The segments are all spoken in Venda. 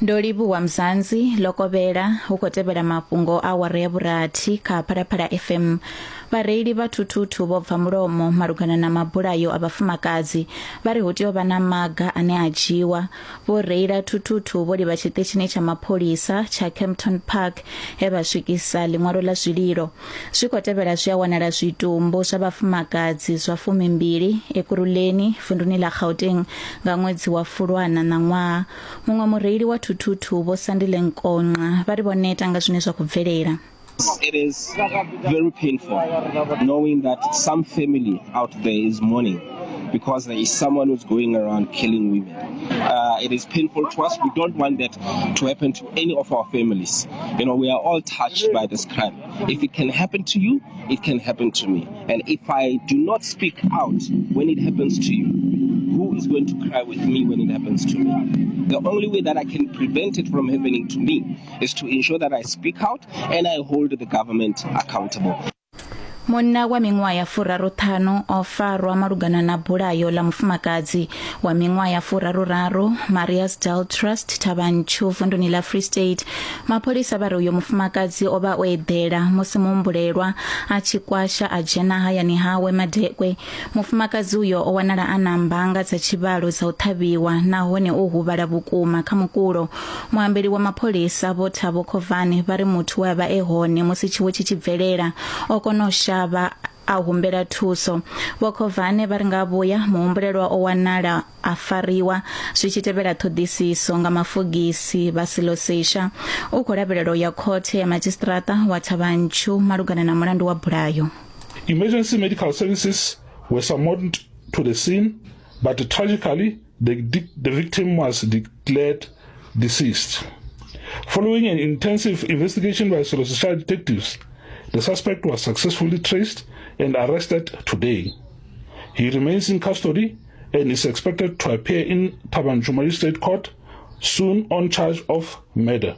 Ndo livhuwa Mzansi ḽo kovhela hu khou tevhela mafhungo a awara ya vhurathi kha Phalaphala FM. Vhareili vha thuthuthu vho bva mulomo malugana na mabulayo a vhafumakadzi vha ri hu tea u vha na maga ane a dzhiwa. Vho reila thuthuthu vho livha tshiṱitshini tsha mapholisa tsha Kempton Park he vha swikisa ḽiṅwalo ḽa zwililo. Zwi khou tevhela zwi a wanala zwitumbu zwa vhafumakadzi zwa fumimbili Ekurhuleni vunduni ḽa Gauteng nga ṅwedzi wa Fulwana ṋaṅwaha. Muṅwe mureili wa thuthuthu Vho Sandile Nkonqa vha ri vho neta nga zwine zwa khou bvelela. It is very painful knowing that some family out there is mourning because there is someone who's going around killing women. It is painful to us. We don't want that to happen to any of our families. You know, we are all touched by this crime. If it can happen to you, it can happen to me. And if I do not speak out when it happens to you, who is going to cry with me when it happens to me? The only way that I can prevent it from happening to me is to ensure that I speak out and I hold the government accountable. Munna wa miṅwaha ya furaruṱhanu o farwa malugana na bulayo ḽa mufumakadzi wa miṅwaha ya furaruraru Mariasdal Trust Thavhantshu vunduni ḽa Free State. Mapholisa vha ri uyo mufumakadzi o vha o eḓela musi muhumbulelwa a tshi kwasha a dzhena hayani hawe madekwe. Mufumakadzi uyo o wanala a na mbanga dza tshivhalo dza u ṱhavhiwa nahone o huvhala vhukuma kha mukulo. Muambeli wa mapholisa Vho Thabo Khovane vha ri muthu we a vha e hone musi tshiwo tshi tshi bvelela o kona u shavha a humbela thuso. Vho Khovane vha ri nga vhuya muhumbulelwa o wanala a fariwa zwi tshi tevhela ṱhoḓisiso nga mafogisi vha Selosesha. U khou lavhelelwa u ya khothe ya madzhisiṱiraṱa wa Thavhantshu malugana na mulandu wa bulayo. Emergency medical services were summoned to the scene, but tragically, the, the victim was declared deceased. Following an intensive investigation by Selosesha detectives, the suspect was successfully traced and arrested today. He remains in custody and is expected to appear in Thaba Nchu Magistrate Court soon on charge of murder.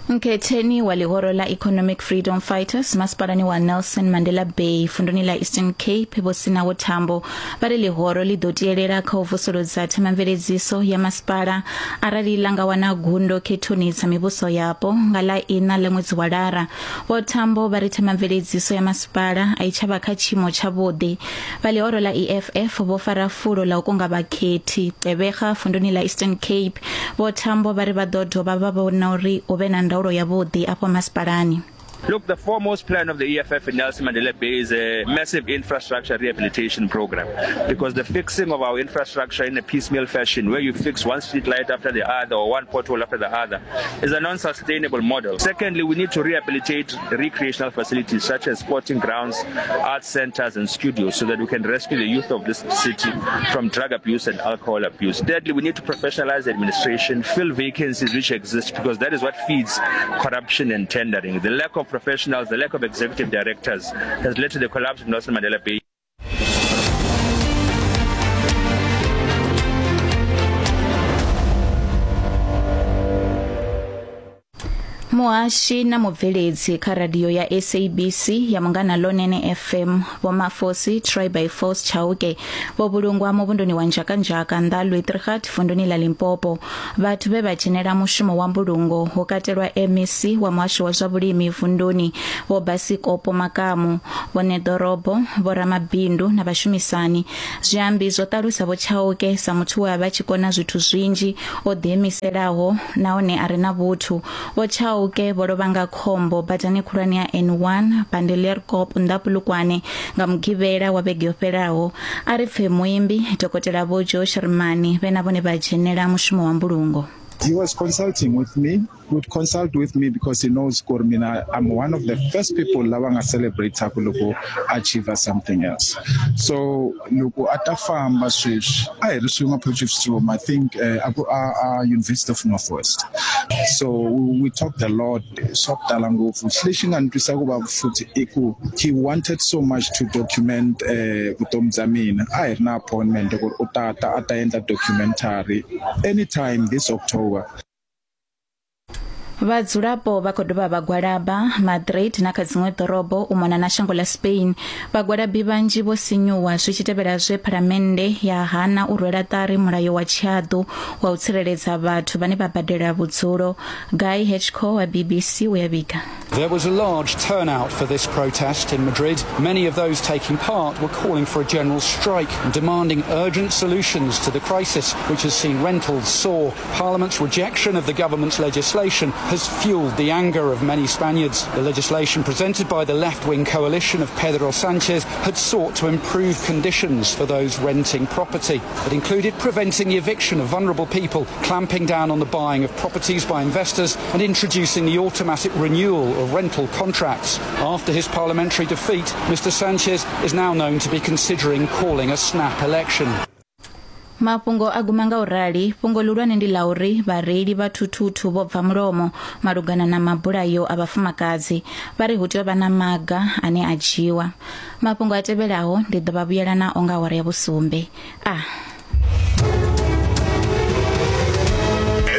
Nkhetheni wa ḽihoro ḽa Economic Freedom Fighters masipalani wa Nelson Mandela Bay funduni ḽa Eastern Cape Vho Sinawo Thambo vha ri ḽihoro ḽi ḓo tielela kha u vusuludza themamveledziso ya masipala arali ḽa nga wana gundo khethoni dza mivhuso yapo nga ḽa iṋa ḽa ṅwedzi wa Lara. Vho Thambo vha ri themamveledziso ya masipala a i tsha vha kha tshiimo tshavhuḓi. Vha ḽihoro ḽa EFF vho fara fulo ḽa u kunga vhakhethi Gqeberha vunduni ḽa Eastern Cape. Vho Thambo vha ri vha ḓo dovha vha vhona uri hu vhe na ndaulo yavhuḓi afho masipalani. Look, the foremost plan of the EFF in Nelson Mandela Bay is a massive infrastructure rehabilitation program because the fixing of our infrastructure in a piecemeal fashion, where you fix one street light after the other or one pothole after the other, is a non-sustainable model. Secondly, we need to rehabilitate recreational facilities such as sporting grounds, arts centers and studios so that we can rescue the youth of this city from drug abuse and alcohol abuse. Thirdly, we need to professionalize administration, fill vacancies which exist because that is what feeds corruption and tendering. The lack of professionals, the lack of executive directors has led to the collapse of Nelson Mandela Bay. Muhashi na mubveledzi kha radio ya SABC ya Munghana Lonene FM Vho Mafosi Try by Force Chauke vho vhulungwa muvhunduni wa Nzhakanzhaka nnḓa Luitrigat vunduni ḽa Limpopo. Vhathu vhe vha dzhenela mushumo wa mbulungo ho katelwa MEC wa muhasho wa zwa vhulimi vunduni Vho Basikopo Makamu, vho ṋeḓorobo, vho ramabindu na vhashumisani. Zwiambi zwo ṱalusa Vho Chauke sa muthu we a vha tshi kona zwithu zwinzhi, o ḓiimiselaho nahone a re na vhuthu. Vho Chauke vho lovha nga khombo badani khulwane ya N1 Bandelierkop nnḓa Polokwane nga Mugivhela wa vhege yo fhelaho. A ri pfe muimbi Dokotela Vho Joe Shirimani vhe na vhone vha dzhenela mushumo wa mbulungo. He was consulting with me, would consult with me because he knows kuri mina I'm one of the first people lava nga celebrate loko achieve something else. So loko a ta famba sweswi a hi ri swin'we Potchefstroom, I think a ku a University of Northwest. So we talked a lot swa ku tala ngopfu. Lexi nga ni twisa ku vava futhi i ku he wanted so much to document vutomi bya mina. A hi ri na appointment ku ri u ta ta a ta endla documentary anytime this October. Vhadzulapo vha khou dovha vha gwalaba Madrid na kha dziṅwe ḓorobo u mona na shango ḽa Spain. Vhagwalabi vhanzhi vho sinyuwa zwi tshi tevhela zwe phalamennde ya hana u rwela ṱari mulayo wa tshihaḓu wa u tsireledza vhathu vhane vha badela vhudzulo. Guy Hedgecoe wa BBC u ya vhiga. There was a large turnout for this protest in Madrid. Many of those taking part were calling for a general strike and demanding urgent solutions to the crisis, which has seen rentals soar. Parliament's rejection of the government's legislation has fueled the anger of many Spaniards. The legislation presented by the left-wing coalition of Pedro Sanchez had sought to improve conditions for those renting property. It included preventing the eviction of vulnerable people, clamping down on the buying of properties by investors and introducing the automatic renewal of rental contracts. After his parliamentary defeat, Mr Sanchez is now known to be considering calling a snap election. Mafhungo a guma nga u rali, fhungo ḽihulwane ndi ḽa uri vhareili vha thuthuthu vho bva mulomo malugana na mabulayo a vhafumakadzi. Vha ri hu tea u vha na maga ane a dzhiwa. Mafhungo a tevhelaho ndi ḓo vha vhuyela nao nga awara ya vhusumbe. A.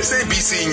SABC.